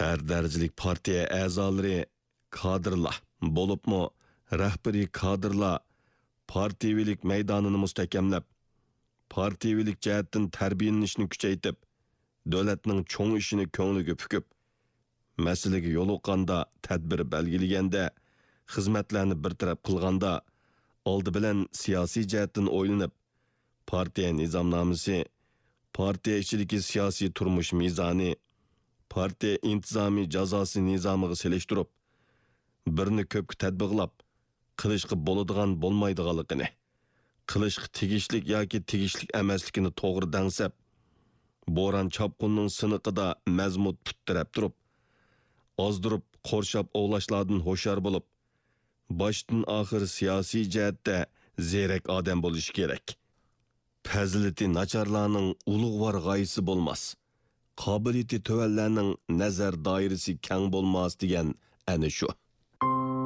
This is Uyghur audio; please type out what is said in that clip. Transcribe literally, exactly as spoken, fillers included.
ھەر دەرىجىلىك پارتىيە ئەزالىرى، كادىرلار، بولۇپمۇ رەھبىرىي كادىرلار پارتىيىۋىلىك مەيدانىنى مۇستەھكەملەپ، پارتىيىۋىلىك جەھەتتىن تەربىيەلىنىشنى كۈچەيتىپ، دۆلەتنىڭ چوڭ ئىشىنى كۆڭلىگە پۈكۈپ، مەسىلىگە يولۇققاندا، تەدبىر بەلگىلىگەندە، خىزمەتلەرنى بىر تەرەپ قىلغاندا، ئالدى بىلەن سىياسىي جەھەتتىن ئويلىنىپ، پارتىيە نىزامنامىسى، پارتىيە ئىچىدىكى سىياسىي تۇرمۇش مىزانى، پارتىيە ئىنتىزامى جازاسى نىزامىغا سېلىشتۇرۇپ، بىرنى كۆپكە تەتبىقلاپ، قىلىشقا بولىدىغان بولمايدىغانلىقىنى، قىلىشقا تېگىشلىك ياكى تېگىشلىك ئەمەسلىكىنى توغرا دەڭسەپ، بوران-چاپقۇننىڭ سىنىقىدا مەزمۇت پۇت تىرەپ تۇرۇپ، ئازدۇرۇپ قورشاپ ئوۋلاشلاردىن ھوشيار بولۇپ، باشتىن-ئاخىر سىياسىي جەھەتتە زېرەك ئادەم بولۇشى كېرەك. پەزىلىتى ناچارلارنىڭ ئۇلۇغۋار غايىسى بولماس، قابىلىيىتى تۆۋەنلەرنىڭ نەزەر دائىرىسى كەڭ بولماس دېگەن ئەنە شۇ.